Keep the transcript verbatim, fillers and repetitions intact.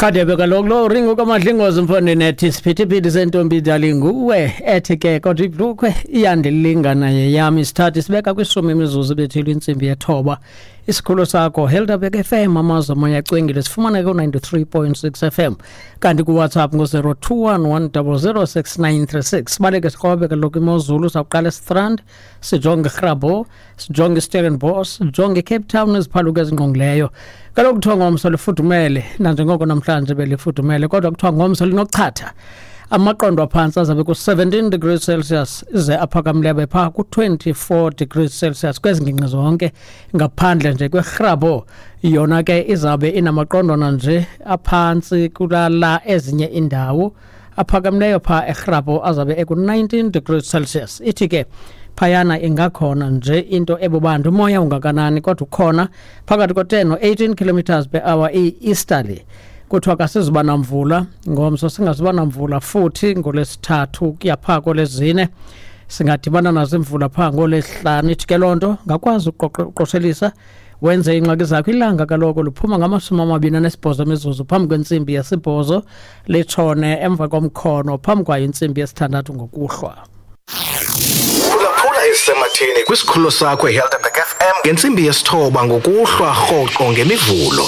Rhadebe kaloku lo ringo kaMadlingozi mfondini ethi siphithiphithi sentombi dali nguwe, ethi ke kodwa ibhlukhwe iyandilingana yeyam. Isithathu sibeka kwishumi imizuzu ibethile intsimbi yethoba. Isikhululo sakho Helderberg F M, amazwe amoya acwengile, sifumana ku-ninety-three point six F M, kanti kuWhatsApp ngo-zero two one one double zero six nine three six. Sibaleke sikrobe kaloku imozulu, sawuqala eStrand, sijonge iGrabouw, sijonge iStellenbosch, sijonge iCape Town neziphaluka ezingqongileyo. Kaloku kuthiwa ngomso lifudumele, nanjengoko namhlanje belifudumele, kodwa kuthiwa ngomso linochatha. Amaqondo aphantsi azabe ku-seventeen degrees Celsius, ize aphakamileyo abe phaa ku-twenty-four degrees Celsius kwezi ngingqi zonke, ngaphandle nje kweGrabouw. Yona ke izabe inamaqondwana nje aphantsi kulala ezinye iindawo. Aphakamileyo phaa eGrabouw azabe eku-nineteen degrees Celsius. Ithi ke phayana ingakhona nje into ebubanzi, umoya ungakanani kodwa ukhona phakathi ko-ten no-eighteen kilometers per hour i-easterly. Kuthiwa kasizuba namvula ngomso, singazuba namvula futhi ngolwesithathu kuya phaa kolwezine, singadibana nazo imvula phaa ngolwesihlanu. Ithi ke loo nto ngakwazi uqoqo-, uqoshelisa wenze iingxaki zakho. Ilanga kaloku liphuma ngamashumi amabini anesibhozo emizuzu phambi kwentsimbi yesibhozo, litshone emva komkhono phambi kwayo intsimbi yesithandathu ngokuhlwa. Phulaphula ezisematheni kwisikhululo sakho iHelderberg F M ngentsimbi yesithoba ngokuhlwa rhoqo ngemivulo.